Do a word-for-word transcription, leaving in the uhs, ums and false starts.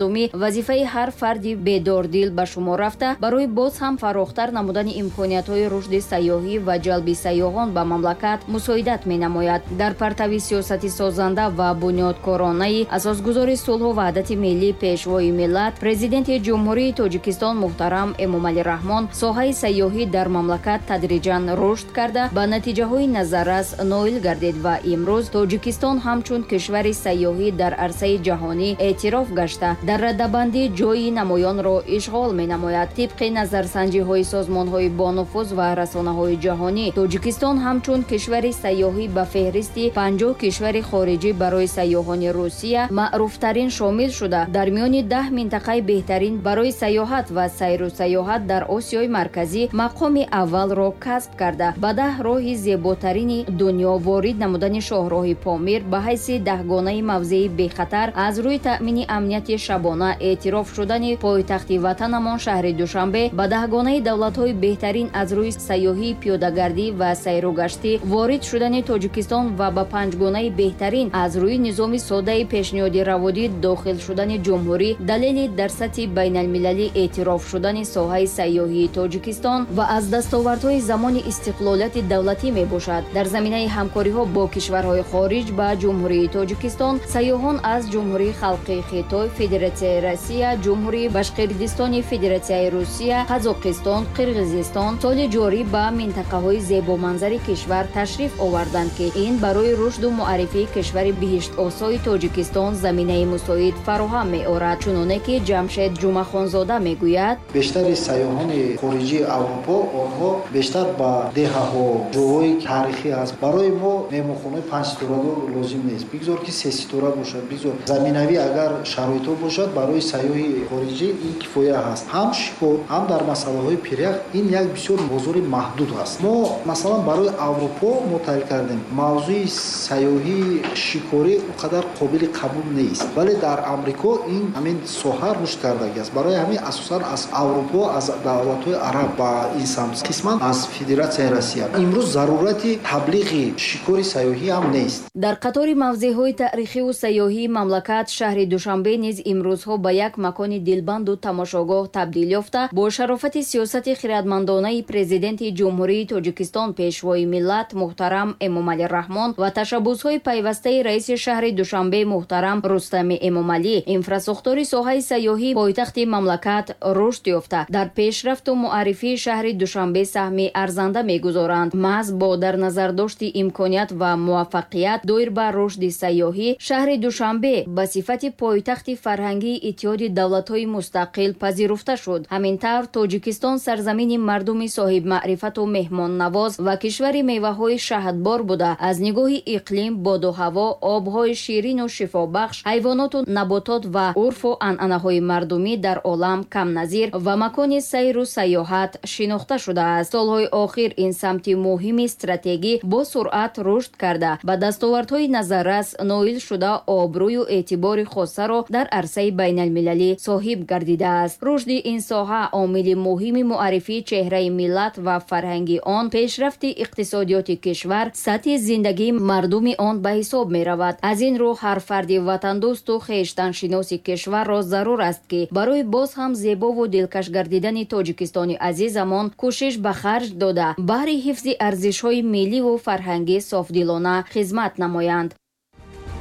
Вазифаи ҳар фарди бедордил ба шумор рафта, барои боз ҳам фарохтар намудани имкониятҳои рушди сайёҳӣ ва ҷалби сайёҳон ба мамлакат мусоидат менамояд. Дар партави сиёсати созанда ва бунёдкоронаи асосгузори сулҳу ваҳдати миллӣ, Пешвои миллат, Президенти Ҷумҳурии Тоҷикистон муҳтарам Эмомалӣ Раҳмон, соҳаи сайёҳӣ дар мамлакат тадриҷан рушд карда, ба натиҷаҳои назаррас ноил гардид ва имрӯз Тоҷикистон ҳамчун кишвари сайёҳӣ дар арсаи ҷаҳонӣ эътироф гашта, дар радабандӣ ҷойи намоёнро ишғол менамояд. Тибқи назарсанҷиҳои созмонҳои бонуфуз ва расонаҳои ҷаҳонӣ, Тоҷикистон ҳамчун кишвари сайёҳӣ ба феҳристи панҷоҳ кишвари хориҷӣ барои сайёҳони Русия маъруфтарин шомил шуда, дар миёни даҳ минтақаи беҳтарин барои сайёҳат ва сайру сайёҳат дар Осиёи Марказӣ мақоми аввалро касб карда, ба даҳ роҳи зеботарини дунё ворид намудани шоҳроҳи Помир ба ҳайси даҳгонаи мавзеи бехатар аз рӯи таъмини амнияти шабона эътироф шудани пойтахти ватанамон шаҳри Душанбе ба даҳгонаи давлатҳои беҳтарин аз рӯи сайёҳии пиёдагардӣ ва сайругаштӣ ворид шудани Тоҷикистон ва ба панҷгонаи беҳтарин аз рӯи низоми содаи пешниҳоди раводид дохил шудани ҷумҳурӣ далели дар сатҳи байналмилалӣ эътироф шудани соҳаи сайёҳии Тоҷикистон ва аз дастовардҳои замони истиқлолияти давлатӣ мебошад. Дар заминаи ҳамкориҳо бо кишварҳои хориҷ ба Ҷумҳурии Тоҷикистон сайёҳон аз Ҷумҳурии Халқии Хитой, Федератсияи Россия, Ҷумҳурии Башқирдистони Федератсияи Русия, Қазоқистон, Қирғизистон соли ҷорӣ ба минтақаҳои зебоманзари кишвар ташриф оварданд, ки ин барои рушду муаррифии кишвари биҳиштосои Тоҷикистон заминаи мусоид фароҳам меорад. Чуноне ки Ҷамшед Ҷумахонзода мегӯяд, бештари сайёҳони хориҷии Аврупо онҳо бештар ба деҳаҳо, ҷойҳои таърихӣ аст. Барои мо меҳмонхонаи панҷситорадор лозим нест. Бигзор ки сеситора бошад, бигзор заминавӣ агар шароитҳо бошад, барои сайёҳи хориҷӣ ин кифоя ҳаст. Ҳам шикор, ҳам дар масъалаҳои пирях ин як бисёр бозори маҳдуд аст. Мо масалан барои Аврупо мо таҳлил кардем, мавзӯи сайёҳии шикорӣ он қадар қобили қабул нест, вале дар Амрико ин ҳамин соҳа рушд кардагӣ аст. Барои ҳамин асосан аз Аврупо, аз давлатҳои араб ба ин самт, қисман аз Федератсияи Россия. Имрӯз зарурати таблиғи шикори сайёҳӣ ҳам нест. Дар қатори мавзеъҳои таърихиву сайёҳии мамлакат шаҳри Душанбе низ имрӯзҳо ба як макони дилбанду тамошогоҳ табдил ёфта, бо шарофати сиёсати хирадмандонаи Президенти Ҷумҳурии Тоҷикистон, Пешвои миллат муҳтарам Эмомалӣ Раҳмон ва ташаббусҳои пайвастаи раиси шаҳри Душанбе муҳтарам Рустами Эмомалӣ, инфрасохтори соҳаи сайёҳии пойтахти мамлакат рушд ёфта, дар пешрафту муаррифии шаҳри Душанбе саҳми арзанда мегузоранд. Маҳз бо дар назардошти имконият ва муваффақият доир ба рушди сайёҳӣ, шаҳри Душанбе ба сифати пойтахти фарҳангии Иттиҳоди давлатҳои мустақил пазируфта шуд. Ҳамин тавр Тоҷикистон сарзамини мардуми соҳибмаърифату меҳмоннавоз ва кишвари меваҳои шаҳдбор буда, аз нигоҳи иқлим, боду ҳаво, обҳои ширину шифобахш, ҳайвоноту наботот ва урфу анъанаҳои мардумӣ дар олам камназир ва макони сайру сайёҳат шинохта шудааст. Солҳои охир ин самти муҳими стратегӣ бо суръат рушд карда, ба дастовардҳои назаррас ноил шуда, обрӯю эътибори хосаро дар арсаи байналмилалӣ соҳиб гардидааст. Рушди ин соҳа омили муҳими муаррифии чеҳраи миллат ва фарҳанги он, пешрафти иқтисодиёти кишвар, сатҳи зиндагии мардуми он ба ҳисоб меравад. Аз ин рӯ ҳар фарди ватандӯсту хештаншиноси кишварро зарур аст, ки барои боз ҳам зебову дилкаш гардидани Тоҷикистони азизамон кӯшиш ба харҷ дода, баҳри ҳифзи арзишҳои милливу фарҳангӣ софдилона хизмат намоянд.